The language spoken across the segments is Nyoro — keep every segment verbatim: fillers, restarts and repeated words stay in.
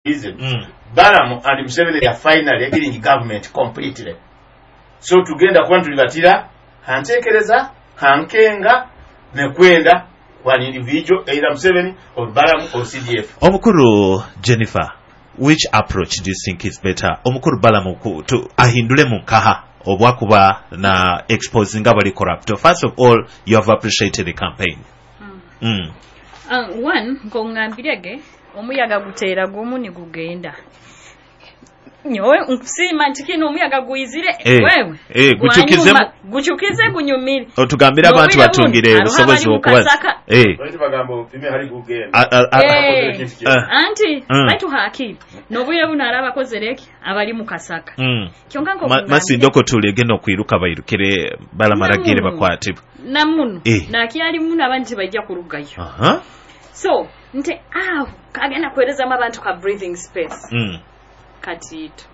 Reason, Mm. Balaam and Museveni are finally killing government completely. So tugenda kuba ntulibatira hantekereza hankenga nekwenda one individual, either Museveni or Balaam or C D F. Omukuru Jennifer, which approach do you think is better? Omukuru Balamu ku- tu- ahindule mu nkaha obwakuba na exposing abali corrupt? First of all, you have appreciated the campaign mm. Uh, one nkongambirege omuyaga guteera gumu nigugenda. Nyowe nkusiima nti kino omuyaga guyizire. Eh, wewe eh, gukyukizemu. Gwanyuma, gukyukize gunyumire. Otugambire abantu N'obwire batungire buno, obusobozi hariho abali mu okubaza. Kasaka. Eh, Baitu bagamba opime hali gugenda. a- a- a- Eh. Ah. Anti Mm. baitu hakiri n'obwire buno ari abakozereki abali mu Kasaka. Mm. Kyonka Ma- nkokugambire- masindoko tulegenda okwiruka bairukire balamaragire Namuno. bakwatibwe. Namuno. Eh. Nakyali muno abandi tebajja kurugayo. Aha. So nti awo kagenda kuweerezamu abantu ka breathing space. Mm. Katiito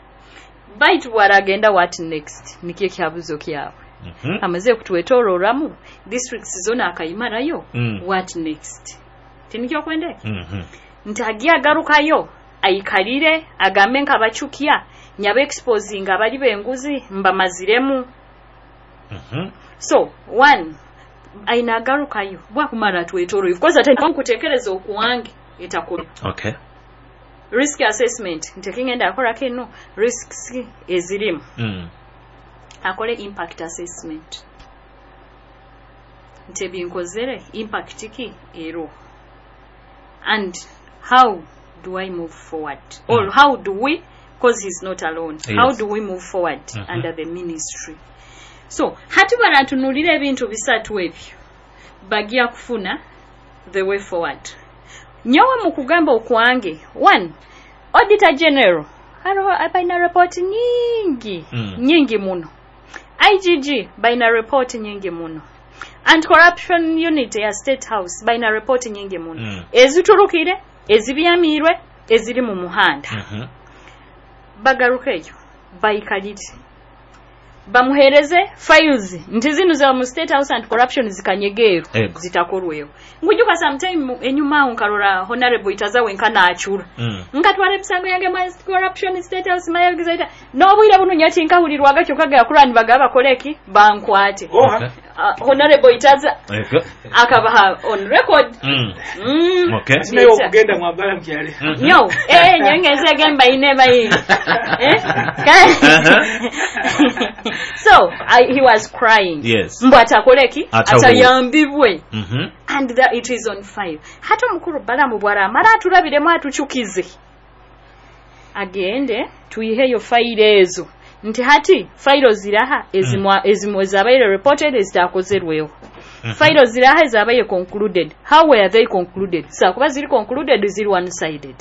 baitu bwaragenda, what next? Nikyo ekyabuzo kyabwe. Mhm. Amaze kutwetororamu districts zona akayimarayo. Mm. What next? Tinikyo kwendeke Mhm. nti agiye agarukayo ayikalire agambe nkabacukya nyaba exposing abali benguzi mbamaziremu. Mhm. So one aina agarukayo bwakumara atwetoro, of course ate nkutekereza okuwange etakora. Okay. Risk assessment nti kingenda akola kino, risks ezirimu. Mm. Akole impact assessment nti ebinkozere impact ki ero and how do I move forward or Mm. how do we, 'cause he's not alone, Yes. how do we move forward Mhm. under the ministry? So hati baratunulira ebintu bisatu ebyo bagya kufuna the way forward. Nyowe mu kugamba okwange, one, Auditor General hariho balina report nyingi, Mm. nyingi muno. I G G balina report nyingi muno. Anti-corruption unit ya State House balina report nyingi muno, Mm. eziturukire, ezibyamirwe, eziri mu muhanda. Mhm. Bagarukeyo bayikalire bamuhereze files nti zino za mu State House Anti Corruption zikanyegeero Ego. zitakorweho. Ngujuka sometime mu- enyuma awo nkarora Honorable Itaza wenka nachura, Mm. nkatwara emisango yange mu corruption State House mayagizaita n'obwire buno nyati nkahulirwaga kyokka gakurani bagaba bakoleki bankwate. Okay. uh, honorable Itaza Ego. akabaha on record. Mm. mm. Okay. Sinayo okugenda mwambala mukyale. Mhm. Nyo eh nyengeze gemba ine bayi eh Uh-huh. So I, he was crying Yes. mbu atakoleki Atawu- atayambibwe. Mhm. And that it is on file. Hata omukulu Balamu bwaramara atulabiremu atukyukize agende tuyiheyo fayiro ezo nti hati fayiro ziraha ezimwa ezimwe ezabaire reported ezitakozerweho, Mhm. fayiro ziraha ezabaire concluded, how were they concluded? Sakuba ziri concluded ziri one sided.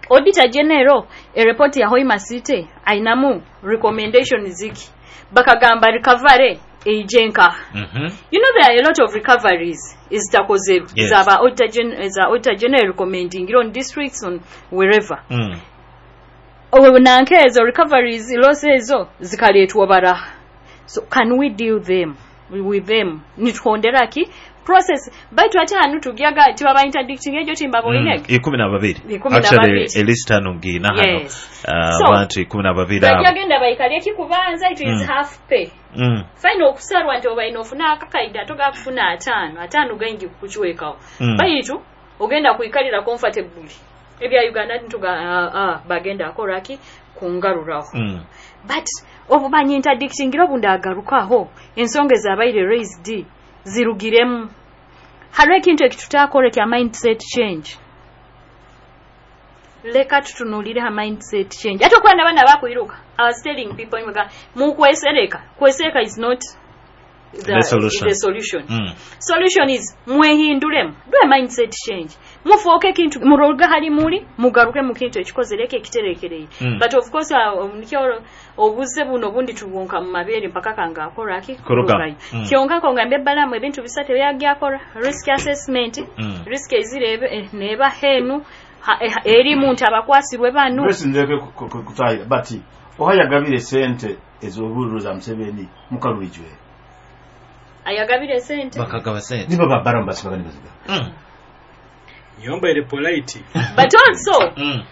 Auditor General erepoti ya Hoima City ainamu recommendation ziki? Bakagamba recovery eijenka. Mhm. You know there are a lot of recoveries ezitakozerwe, Yes. zaba auditor gen za Auditor General recommending on districts, on wherever. Mm. Owe nanke ezo recoveries loss ezo zikaletwa baraha. So can we deal them with them nituhondera ki process? Baitu ate hanu tugyaga tibaba interdicting ejo timba boinege. Mm. Ikumi na babiri. Ikumi na Actually, babiri. elista eno ngiina hano. Yes. Uh, So, abantu ikumi na babiri abo. Bajagenda bayikalye kikubanza it is Mm. half pay. Mm. Fine okusarwa nti obaina ofuna akakaida ate gakufuna ataano ataano gaingi kukukiwekawo. Mm. Baitu ogenda kuikalira comfortably ebya Uganda ntuga uh, uh, bagenda akoraki kungaruraho. Mm. But obumanyi interdictingira obundi agarukaho ensonga ezabaire raised zirugiremu. Hariho ekintu ekitutakora kya mindset change. Leka tutunulire ha mindset change ate okuba nabaana bakwiruka. I was telling people imwega mukwesereka, kwesereka is not the, The solution. The solution. Mm. Solution is mwehindulemu, do a mindset change, mufuuke ekintu muroga hali muli mugaruke mu kintu ekikozereko ekiterekereye. Mm. But of course uh, nikyo obuze buno obundi tubwonka mu mabeere mpaka kanga akoraki. Kuruga. Mm. Kyonka kongambye Balamu ebintu bisatu ebyagyakola: risk assessment, Mm. risk ezirebe eh, neba henu ha- eh, erimu nti abakwasirwe bano. Grace, ndeke kutahira but oha yagabire sente ez'obululu za Museveni mukaluijwe. Ayagabire sente. Bakagaba sente. Nibo babaramu basibaga nibaziga. Mm. Nyomba ere polite. But also Mm.